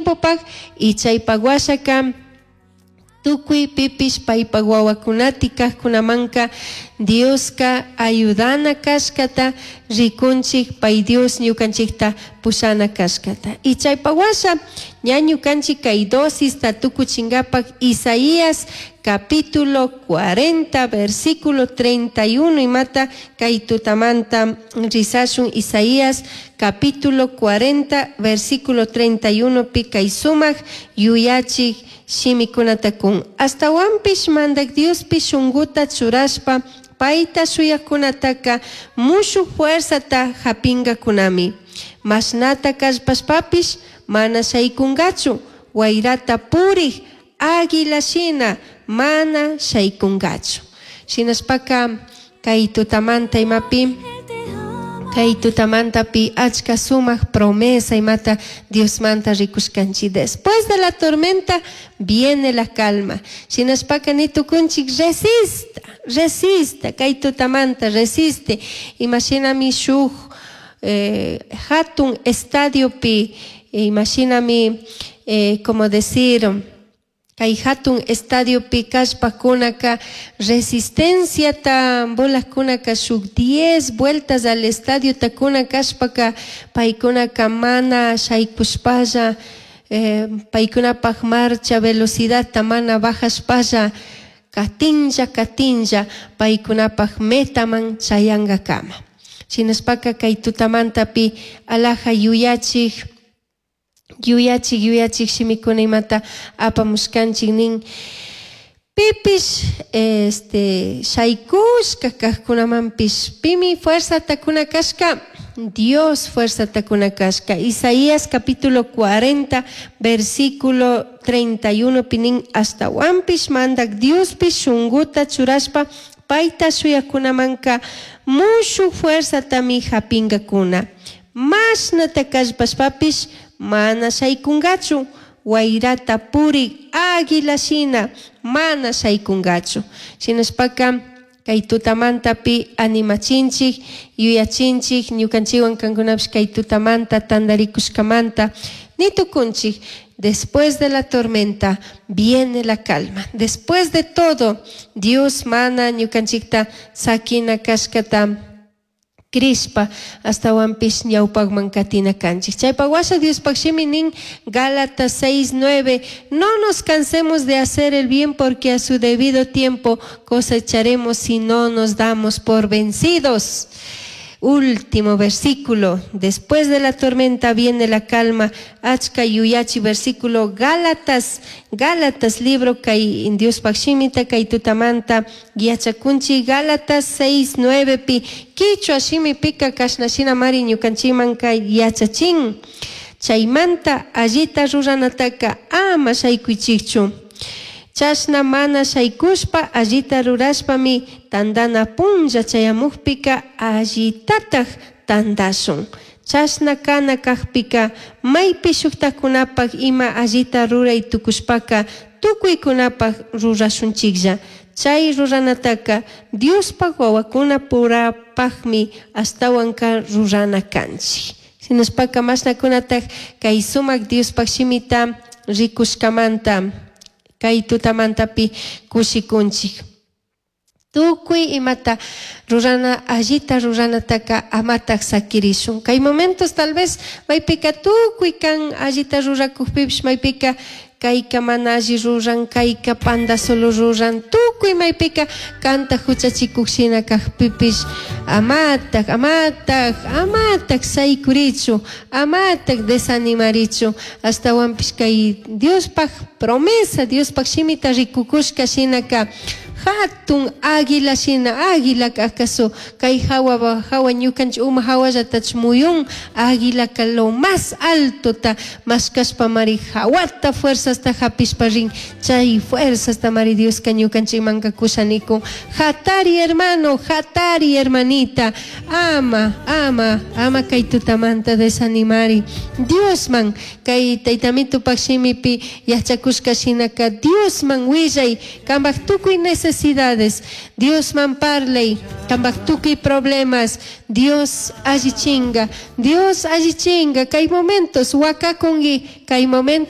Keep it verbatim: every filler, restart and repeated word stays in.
tiempopaj y chaypak washaka tukuy pipish paypak wawakunati kajkunamanka Dioska ayudana kashkata rikunchik pay Dios ñukanchikta pushana kashkata y chaypak washa ña ñukanchik kay dosista tukuchinkapak Isaías capítulo cuarenta versículo treinta y uno imata kay tutamanta risashun Isaías capítulo cuarenta versículo treinta y uno pi kay sumak yuyachik shimikunata kun astawanpish mandak Diospi shunkuta churashpa payta shuyakunataka mushu fuerzata hapinkakunami mashnata kallpashpapish mana shaykunkachu wayrata purik águila shina mana shaykunkachu shinashpaka kay tutamanta imapi kay tutamantapi achka sumak promesa imata Diosmanta rikushkanchik después de la tormenta viene la calma shinashpaka ni tukunchik resista resista kay tutamanta resiste imashinami shuk eh, hatun estadiopi imashinami eh, como decir kay hatun estadiopi kashpakunaka resistenciata bolakunaka shuk diez vueltas al estadio takuna kashpaka paykunaka mana shaykushpalla eh, paykunapak marcha velocidadta mana bajashpalla katinlla katinlla paykunapak metaman chayankakama shinashpaka kay tutamantapi alaja yuyachik yuyachik yuyachik shimikuna imata apamushkanchik nin pipish este shaykushka kajkunamanpish pimi fuerzata kuna kashka Dios fuerzata kuna kashka Isaías capítulo cuarenta versículo treinta y uno pinin astawanpish mandak Diospish shunkuta churashpa payta shuyakunamanka mushu fuerzatami hapinkakuna mashnata kallpashpapish mana shaykunkachu wayrata purik águila shina mana shaykunkachu shinashpaka kay tutamantapi animachinchik yuyachinchik ñukanchikwan kankunapish kay tutamanta tantarikushkamanta nitukunchik después de la tormenta viene la calma después de todo Dios mana ñukanchikta sakina kashkata crishpa astawanpish ñawpakman katina kanchik chaypak washa Diospaq shimi nin Gálatas seis nueve no nos cansemos de hacer el bien porque a su debido tiempo cosecharemos si no nos damos por vencidos. Último versículo, después de la tormenta viene la calma. Achka yuyachi versículo Gálatas, Gálatas libro kay Diospaq shimita kay tutamanta yachakunchi Gálatas seis nueve pi kichwa shimipika kashna shina mari ñukanchiman kay yachachin. Chaymanta allita ruranataka ama shaykuychikchu. Chashna mana shaykushpa allita rurashpami tandana punlla chayamukpika allitataj tandashun. Chashna kana kajpika maypi shuktakunapak ima allita ruray tukushpaka tukuykunapak rurashunchiklla. Chay ruranataka Diospaq wawakuna purapaqmi ashtawanka rurana kanchik. Shinashpaka mashnakunataj kay sumak Diospaq shimita rikushkamanta kay tutamantapi kushikunchik. Tukuy imata rurana allita ruranataka amataj sakirishun. Kay momentos tal vez maypika tukuy kan allita rurakukpipish maypika kayka mana alli ruran, kayka panda solo ruran, tukuy maypika kanta huchachikuk shina kajpipish amataj, amataj, amataj saykurichu, amataj desanimarichu, astawanpish kay Diospaq promesa, Diospaq shimita rikukushka shinaka hatun águila shina, águila acaso kay hawa hawa ñukanchik uma hawallatach muyun águila ka lo más alto ta mashkashpa mari hawata fuerzasta hapishpa rin chay fuerzasta mari Dioska ñukanchikmanka kushanikun hatari hermano, hatari hermanita, ama, ama, ama kay tutamanta desanimari Diosman kay taytamitupak shimipi yachakushka shinaka Diosman willay kanpak tukuy necesidades, Diosman parley, kanpak tukuy problemas, Dios allichinga, Dios allichinga, kay momentos wakakunki, kay momentos